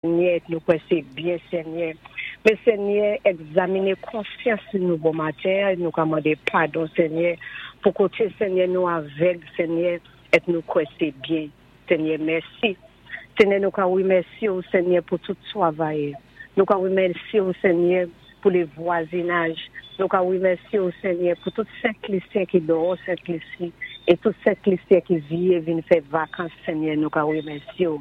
Senyè, nou kwè sé byen, Senyè. Men Senyè, egzaminé konsyans nou bon maten, nou ka mandé padon, Senyè, pou koté, Senyè, nou avèg, Senyè, et nou kwè sé byen. Senyè, mèsi. Senyè, nou ka wimèsyé ou, Senyè, pou tout twavayè. Nou ka wimèsyé ou, Senyè, pou lé vwazinaj. Nou ka wimèsyé ou, Senyè, pou tout Sent Lisyen ki dòwò Sent Lisi é tout Sent Lisyen ki viyé vin fè vakans, Senyè, nou ka wimèsyé ou.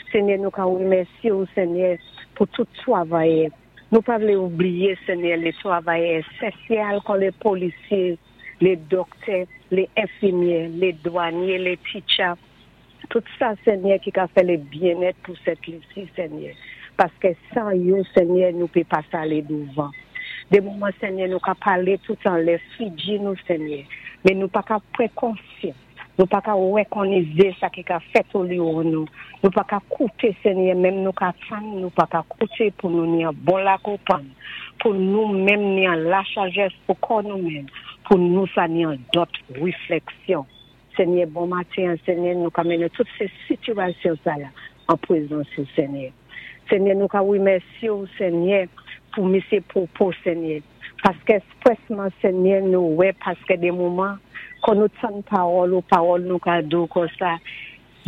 Senyè, nou ka wimèsyé ou, Senyè, pou tout twavayè. Nou pa vlé oubliyé, Senyè, lé twavayè esansyal kon lé polisyé, lé dòktè, lé enfimyè, lé dwanyé, lé titcha, tout sa, Senyè, ki ka fè lé byennèt pou Sent Lisi, Senyè. Paskè san yo, Senyè, nou pé pa salé douvan. Dé moman, Senyè, nou ka palé toutan lé figi nou, Senyè, men nou pa ka pran konsyans. Nou pa ka wékonnizé sa ki ka fèt oliwon nou. Nou pa ka kouté, Senyè, menm nou ka tann, nou pa ka kouté pou nou ni an bon lakonpann, pou nou menm ni an lasajès pou kò nou menm, pou nou sa ni an dòt wiflèksyon. Senyè, bon maten, Senyè, nou ka mennen tout sé sitiyasyon sa la an pwézans ou, Senyè. Senyè, nou ka wimèsyé ou, Senyè, pou misyé Popo, Senyè. Paskè èksprèsman, Senyè, nou wè paskè dé moman, kon nou tann pawòl ou, pawòl nou ka di ou konsa,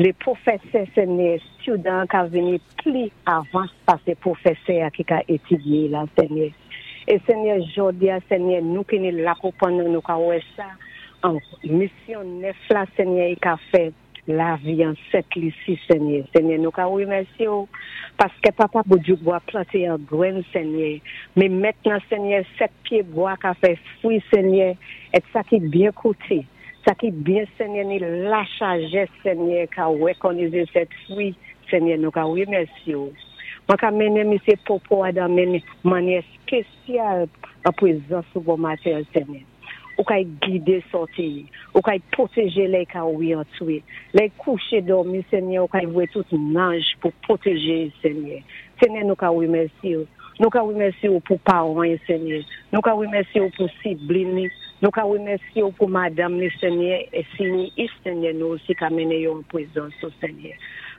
lé pwofèsè, Senyè, student ka vini pli avans pasé pwofèsè a ki ka étidyé la, Senyè. É Senyè, jòdi a, Senyè, nou ki ni lakonpann nou, nou ka wè sa an misyon nèf la, Senyè, i ka fè lavi an Sent Lisi, Senyè. Senyè, nou ka wimèsyé ou paskè Papa Boudjouk planté an grenn, Senyè. Men mentnan, Senyè, sèt pyé bwa ka fè fwi, Senyè, et sa ki byen kouté, sa ki byen, Senyè, ni lasajès, Senyè, ka wékonnizé sèt fwi, Senyè, nou ka wimèsyé ou. Mwen ka mennen misyé Popo a dan menn mannyè spésyal an pwézans ou bon maten, Senyè. Ou kay gidé sòti, ou kay pwotéjé lè ka wi antwé. Lè kouché dòmi, Senyè, ou kay voyé tout nanj pou pwotéjé, Senyè. Senyè, nou ka wimèsyé ou. Nou ka wimèsyé ou pou pawan, Senyè. Nou ka wimèsyé ou pou siblin ni. Nou ka wimèsyé ou pou madanm ni, Senyè, é si ni is, Senyè, nou osi ka mennen yo an pwézans ou, Senyè.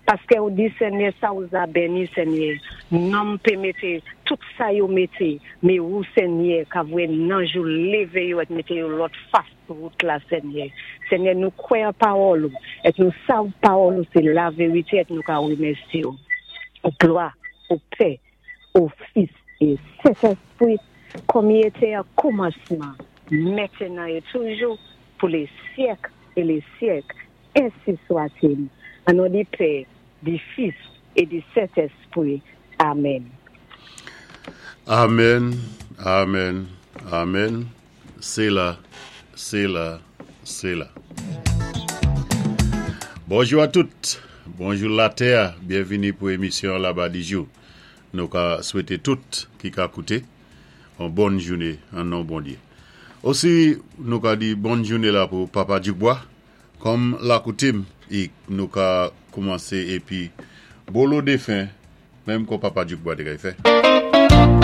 Paskè ou di, Senyè, sa ou za béni, Senyè. Nonm pé mété tout sa yo mété, men ou, Senyè, ka voyé nanj ou lévé yo et mété yo lòt fas wout la, Senyè. Senyè, nou kwè an pawòl ou, et nou sav pawòl ou sé lavérité et nou ka wimèsyé ou. Glwa o Pè, o Fis é Sentèspwi, kòm i été an kòmansman, mentenan é toujou, pou lé syèk é lé syèk. Ensi swa-t-il. An non di Pè, di Fis é di Sentèspwi. Amèn. Amen, amen, amen. Séla, séla, séla. Bonjou a tout, bonjou latè, byenvini pou émisyon Laba di jou. Nou ka swété tout ki ka kouté yon bòn jouné an non Bondyé. Osi nou ka di bòn jouné la pou Papa Djikbwa, kòm lakoutim i nou ka koumansé épi bolo défen menm kon Papa Djikbwa té kay fè.